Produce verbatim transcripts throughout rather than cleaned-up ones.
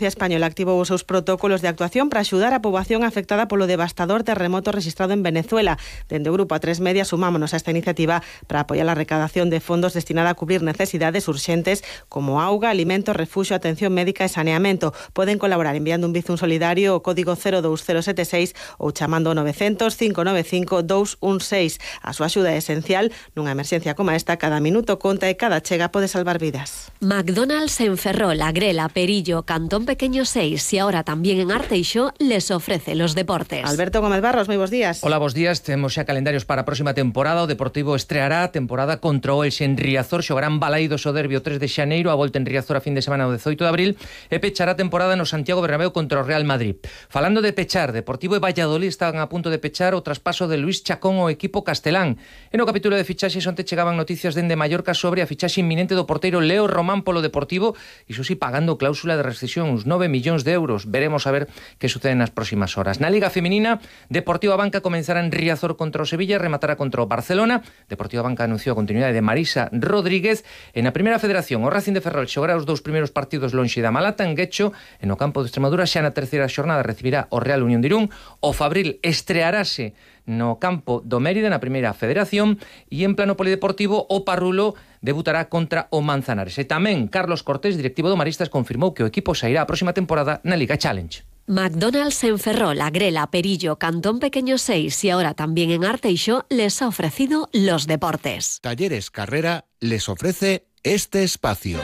A Española activou os seus protocolos de actuación para axudar a poboación afectada polo devastador terremoto registrado en Venezuela. Dende o Grupo A tres Media sumámonos a esta iniciativa para apoiar a recadación de fondos destinada a cubrir necesidades urxentes como auga, alimentos, refuxio, atención médica e saneamento. Poden colaborar enviando un bizum solidario ao código cero dous cero sete seis ou chamando ao novecientos, cinco nove cinco, dous un seis. A súa axuda é esencial nunha emerxencia como esta. Cada minuto conta e cada chega pode salvar vidas. McDonald's en Ferrol, Agrela, Perillo, Cantón Pequeño seis y ahora también en Arteixo les ofrece los deportes. Alberto Gómez Barros, moi bons días. Hola, bons días. Temos xa calendarios para a próxima temporada. O Deportivo estreará a temporada contra o Elxe en Riazor. Xogarán Balaídos o derbi o tres de xaneiro, a volta en Riazor a fin de semana o dezoito de abril e pechará a temporada no Santiago Bernabéu contra o Real Madrid. Falando de pechar, Deportivo e Valladolid estaban a punto de pechar o traspaso de Luis Chacón ao equipo castelán. En o capítulo de fichaxes onte chegaban noticias dende Mallorca sobre a fichaxe inminente do porteiro Leo Román polo Deportivo, iso sí pagando cláusula de rescisión, uns nove millóns de euros. Veremos a ver que sucede nas próximas horas. Na Liga Feminina, Deportivo Abanca comenzará en Riazor contra o Sevilla e rematará contra o Barcelona. Deportivo Abanca anunciou a continuidade de Marisa Rodríguez. E na Primeira Federación, o Racing de Ferrol xogará os dous primeiros partidos lonxe da Malata en Guecho, e no campo de Extremadura xa na terceira xornada recibirá o Real Unión de Irún. O Fabril estrearase no campo do Mérida na Primeira Federación e en plano polideportivo o Parrulo debutará contra o Manzanares. E tamén Carlos Cortés, directivo do Maristas, confirmou que o equipo sairá a próxima temporada na Liga Challenge. McDonald's en Ferrol, Agrela, Perillo, Cantón Pequeño seis y ahora también en Arteixo les ha ofrecido los deportes. Talleres Carrera les ofrece este espacio.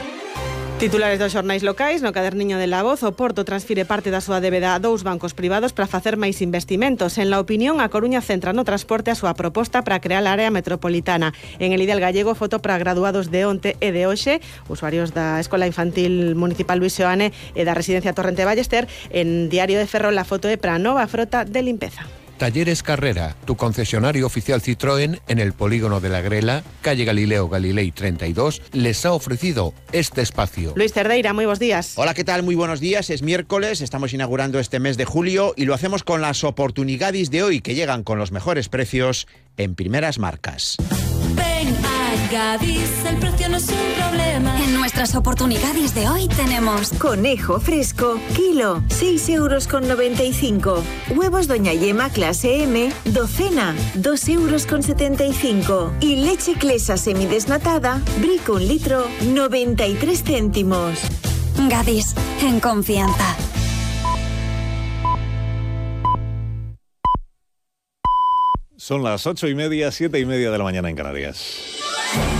Titulares dos xornais locais. No caderniño de La Voz, o Porto transfire parte da súa débeda a dous bancos privados para facer máis investimentos. En La Opinión, a Coruña centra no transporte a súa proposta para crear a área metropolitana. En El Ideal Gallego, foto para graduados de onte e de hoxe, usuarios da Escola Infantil Municipal Luis Seoane e da Residencia Torrente Ballester. En Diario de Ferrol, la foto é para a nova frota de limpeza. Talleres Carrera, tu concesionario oficial Citroën en el polígono de la Grela, calle Galileo Galilei treinta y dos, les ha ofrecido este espacio. Luis Cerdeira, muy buenos días. Hola, ¿qué tal? Muy buenos días. Es miércoles, estamos inaugurando este mes de julio y lo hacemos con las oportunidades de hoy que llegan con los mejores precios en primeras marcas. Ven a Gadis, el precio no es un problema. En nuestras oportunidades de hoy tenemos conejo fresco, kilo, seis euros con noventa y cinco. Huevos Doña Yema clase M, docena, dos euros con setenta y cinco. Y leche Clesa semidesnatada, Brico un litro, noventa y tres céntimos. Gadis, en confianza. Son las ocho y media, siete y media de la mañana en Canarias.